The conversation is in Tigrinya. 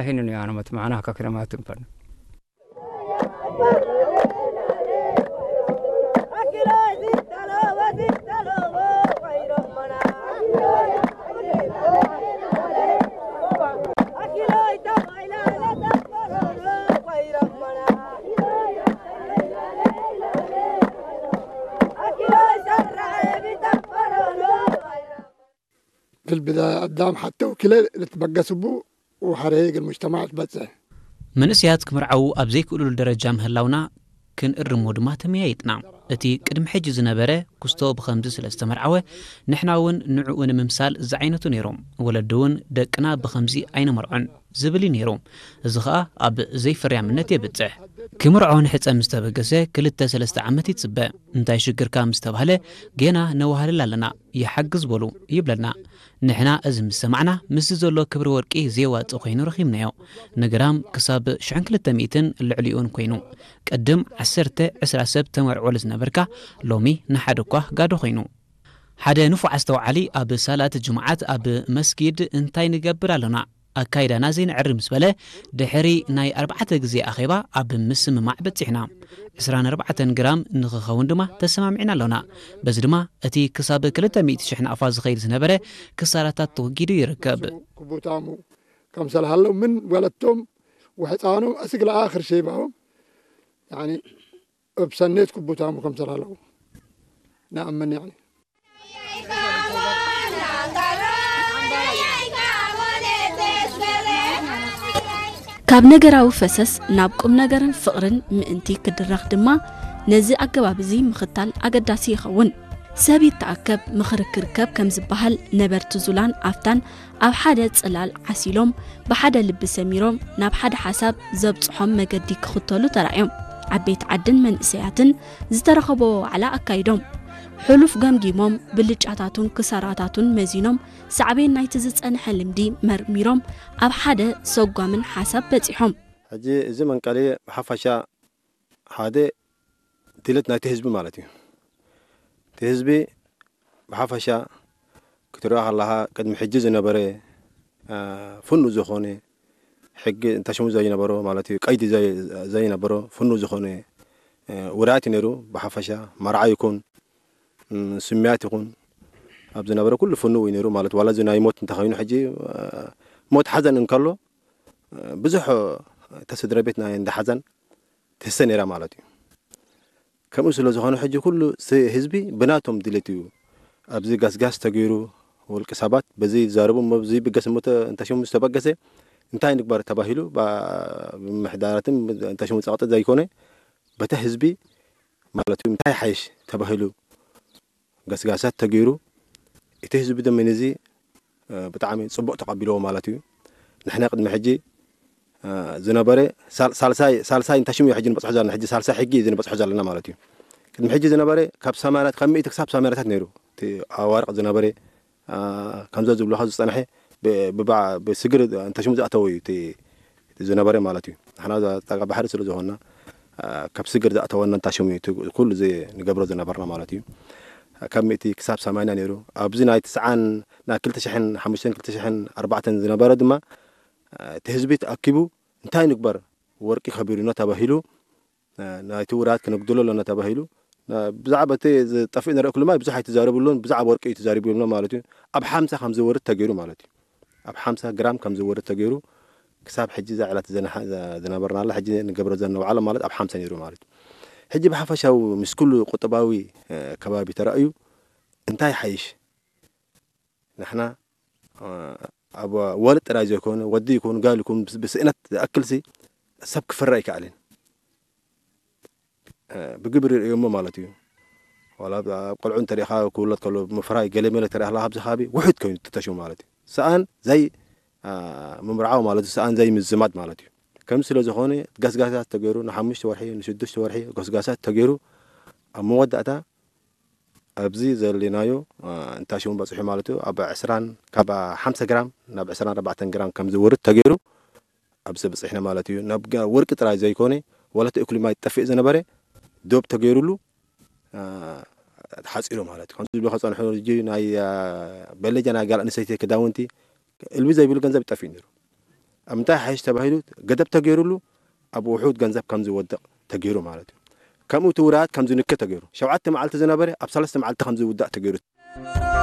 ሕንኑ ያነመት ማዕና ከክረማትን ፈን في البداية قدام حتى وكلا لتبقى سبو وحريق المجتمع تبتسه. መንእሰያት ክምርዓዉ ኣብ ዘይክእሉሉ ደረጃ ምህላውና ክንእርሞ ድማ ተመያይጥና። እቲ ቅድሚ ሕጂ ዝነበረ ክስቶ ብኸምዚ ስለ ዝተመርዓወ፣ ንሕና እውን ንዕኡ ንምምሳል ዝዓይነቱ ነይሩ። ወለዲ እውን ደቅና ብኸምዚ ኣይነመርዖን ዝብል እዩ ነይሩ። እዚ ኸኣ ኣብ ዘይፍርያምነት የብጽሕ። ክምርዖ ንሕጸ ምስ ተበገሰ ክልተ ሰለስተ ዓመት ይጽበ። እንታይ ሽግርካ ምስ ተባህለ፣ ጌና ነዋህልል ኣለና፣ ይሓግዝ በሉ ይብለና። ንሕና እዚ ምስ ሰማዕና፣ ምስዚ ዘሎ ክብሪ ወርቂ ዘየዋጽእ ኮይኑ ረኺብናዮ። ንግራም ክሳብ ሽሕን ክልተ ሚእትን ልዕሊኡን ኮይኑ። ቅድም ዓሰርተ ዕስራ ሰብ ተመርዕወሉ ዝነበርካ፣ ሎሚ ንሓደ እኳ ጋዶ ኮይኑ። ሓደ ንፉዕ ኣስተውዓሊ ኣብ ሳላት ጅምዓት ኣብ መስጊድ እንታይ ንገብር ኣሎና? ኣካይዳና ዘይንዕሪ ምስ በለ፣ ድሕሪ ናይ ኣርባዕተ ግዜ ኣኼባ ኣብ ምስምማዕ በጺሕና። ዕስራን ኣርባዕተን ግራም ንኽኸውን ድማ ተሰማሚዕና ኣሎና። በዚ ድማ እቲ ክሳብ ክልተ ሚእቲ ሽሕ ናቕፋ ዝኸይድ ዝነበረ ክሳራታት ተወጊዱ ይርከብ። ክቡታሙ ከምሰል ሃለው ምን ወለቶም ወሕፃኖም እስግ ለኣኽር ሸይባዎም ያኒ እብ ሰኔት ክቡታሙ ከምሰል ሃለው ንኣምን ያኒ ካብ ነገራዊ ፈሰስ ናብ ቁም ነገርን ፍቕርን ምእንቲ ክድረኽ ድማ ነዚ ኣገባብ እዚ ምኽታል ኣገዳሲ ይኸውን። ሰብ ይተኣከብ ምኽሪ ክርከብ ከም ዝበሃል ነበርቲ ዙላን ኣፍታን ኣብ ሓደ ጽላል ዓሲሎም ብሓደ ልቢ ሰሚሮም ናብ ሓደ ሓሳብ ዘብጽሖም መገዲ ክኽተሉ ተራእዮም። ዓበይቲ ዓድን መንእሰያትን ዝተረኸብዎ ዋዕላ ኣካይዶም። ሕሉፍ ገምጊሞም ብልጫታቱን ክሳራታቱን መዚኖም ሳዕቤን ናይቲ ዝጸንሐ ልምዲ መርሚሮም ኣብ ሓደ ሰጓምን ሓሳብ በጺሖም። ሕጂ እዚ መንቀሊ ብሓፈሻ ሓደ ድሌት ናይቲ ህዝቢ ማለት እዩ። እቲ ህዝቢ ብሓፈሻ ክትሪኦ ከለኻ ቅድሚ ሕጂ ዝነበረ ፍኑው ዝኾነ ሕጊ እንተሽሙ ዘይነበሮ ማለት እዩ፣ ቀይዲ ዘይነበሮ ፍኑው ዝኾነ ውራያት እዩ ነይሩ። ብሓፈሻ መርዓ ይኹን ስምያት ይኹን ኣብ ዝነበረ ኩሉ ፍኑው እዩ ነይሩ ማለት ዋላ እዚ ናይ ሞት እንተኸይኑ ሕጂ ሞት ሓዘን እንከሎ ብዙሕ እታ ስድራ ቤት ናይ እንዳ ሓዘን ትህሰ ነይራ ማለት እዩ። ከምኡ ስለ ዝኾነ ሕጂ ኩሉ ህዝቢ ብናቶም ድሌት እዩ ኣብዚ ጋስጋስ ተገይሩ ውልቂ ሰባት በዚ ይዛረቡ እሞ እዚ ይብገስ እሞ እንተሽሙ ዝተበገሰ እንታይ ንግበር ተባሂሉ ብምሕዳራትን እንተሽሙ ጸቕጢ ዘይኮነ በቲ ህዝቢ ማለት እዩ እንታይ ሓይሽ ተባሂሉ ገስጋሳት ተገይሩ እቲ ህዝቢ ድማ ነዚ ብጣዕሚ ፅቡቅ ተቀቢልዎ ማለት እዩ። ንሕና ቅድሚ ሕጂ ዝነበረ ሳልሳይ ሳልሳይ እንታይ ሽሙ እዩ ሕጂ ንበፅሖ ዘለና ሕጂ ሳልሳይ ሕጊ እዩ ንበፅሖ ዘለና ማለት እዩ። ቅድሚ ሕጂ ዝነበረ ካብ ሰማንያታት ካብ ሚእቲ ክሳብ ሰማንያታት ነይሩ እቲ ኣዋርቅ ዝነበረ ከምዞ ዝብልካ ዝፀንሐ ብስግር እንታይ ሽሙ ዝኣተወ እዩ እቲ ዝነበረ ማለት እዩ። ንሕና ጣቃ ባሕሪ ስለ ዝኾንና ካብ ስግር ዝኣተወና እንታይ ሽሙ እዩ ኩሉ ንገብሮ ዝነበርና ማለት እዩ። ካብ ሚእቲ ክሳብ ሰማንያ ነይሩ። ኣብዚ ናይ ትስዓን ናይ ክልተ ሽሕን ሓሙሽተን ክልተ ሽሕን ኣርባዕተን ዝነበረ ድማ እቲ ህዝቢ ተኣኪቡ እንታይ ንግበር ወርቂ ከቢሩና ተባሂሉ ናይቲ ውራት ክነጉድሎ ኣለና ተባሂሉ ብዛዕባ እቲ ዝጠፍእ ንርኢ ኩሉ ማይ ብዙሕ ኣይተዛረብሉን ብዛዕባ ወርቂ እዩ ተዛሪቡ ይብሎ ማለት እዩ። ኣብ ሓምሳ ከም ዝወርድ ተገይሩ ማለት እዩ። ኣብ ሓምሳ ግራም ከም ዝወርድ ተገይሩ ክሳብ ሕጂ እዛ ዕለት ዝነበርናላ ሕጂ ንገብሮ ዘለና ዋዕላ ማለት ኣብ ሓምሳ ነይሩ ማለት እዩ። ሕጂ ብሓፈሻዊ ምስ ኩሉ ቁጠባዊ ከባቢ ተራእዩ እንታይ ሓይሽ ንሕና ኣብ ወልድ ጥራይ ዘይኮነ ወዲ ይኩን ጋል ይኩን ብስእነት ዝኣክልሲ ሰብ ክፍረ ኣይከኣልን። ብግብሪ ርእዮሞ ማለት እዩ። ዋላ ኣብ ቆልዑ እንተሪኢኻ ክውለድ ከሎ ምፍራይ ገለ መለ ተሪኢኻ ኣብዚ ከባቢ ውሑድ ኮይኑ ተተሽሙ ማለት እዩ። ሰኣን ዘይ ምምርዓው ማለት እዩ። ሰኣን ዘይ ምዝማድ ማለት እዩ። ከም ስለ ዝኾነ ገስጋሳት ተገይሩ ንሓሙሽተ ወርሒ ንሽዱሽተ ወርሒ ገስጋሳት ተገይሩ ኣብ መወዳእታ ኣብዚ ዘለናዮ እንታይ ሽሙ በፂሑ ማለት እዩ ኣብ ዕስራን ካብ ሓምሳ ግራም ናብ ዕስራን ኣርባዕተን ግራም ከም ዝወርድ ተገይሩ ኣብዚ በፂሕና ማለት እዩ። ናብ ወርቂ ጥራይ ዘይኮነ ዋላ እቲ እኩሊ ማይ ጠፊእ ዝነበረ ዶብ ተገይሩሉ ተሓፂሩ ማለት እዩ። ከምዚ ዝብሎ ከፀንሑ ሕጂ ናይ በለጃ ናይ ጋል ኣንስተይቲ ክዳውንቲ እልቢ ዘይብሉ ገንዘብ ይጠፍእ ነይሩ። ኣብ ምንታይ ሓይሽ ተባሂሉ ገደብ ተገይሩሉ ኣብ ውሑድ ገንዘብ ከም ዝወድቕ ተገይሩ ማለት እዩ። ከምኡ እቲ ውራያት ከም ዝንከ ተገይሩ። ሸውዓተ መዓልቲ ዝነበረ ኣብ ሰለስተ መዓልቲ ከም ዝውዳእ ተገይሩ።